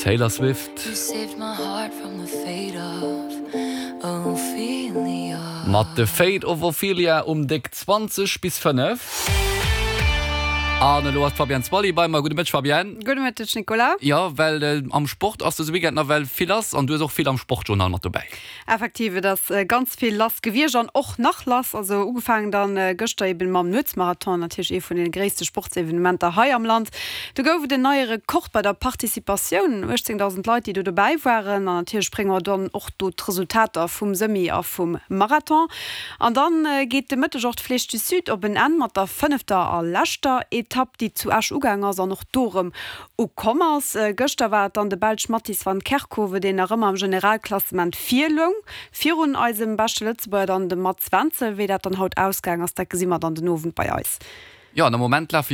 Taylor Swift. Mat The Fate of Ophelia um déck 20 bis 5. An elo ass d'Fabienne Zwally bei mer. Gudde Mëtteg, Fabienne. Gudde Mëtteg, Nicolas. Jo, well am Sport ass dëse Weekend nawell vill lass an du hues och vill am Sportjournal mat dobäi. Effektiv, et ass ganz vill lass gewiescht an och nach lass. Also ugefaangen dann gëschter eben mam Nuetsmarathon, natierlech ee vun den gréisste Sportsevenementer hei am Land. Do gouf et en neie Rekord bei der Participatioun, 18.000 Leit déi do dobäi waren. An natierlech brénge mer dann och do d'Resultater vum Semi a vum Marathon. An dann geet de Mëtteg och d'Flèche du Sud op en Enn mat der fënnefter a leschter Etapp, déi zu Esch ugaang ass an och do erëm Ukomm ass. Gëschter war et dann de Belsch Mattis van Kerkhove, deen nach ëmmer am Generalklassement vir loung, virun eisem beschte Lëtzebuerger dann, dem Mats Wenzel. Wéi dat dann haut ausgaang ass, dat gesi mer dann den Owend bei eis. Jo, an am Moment lafe.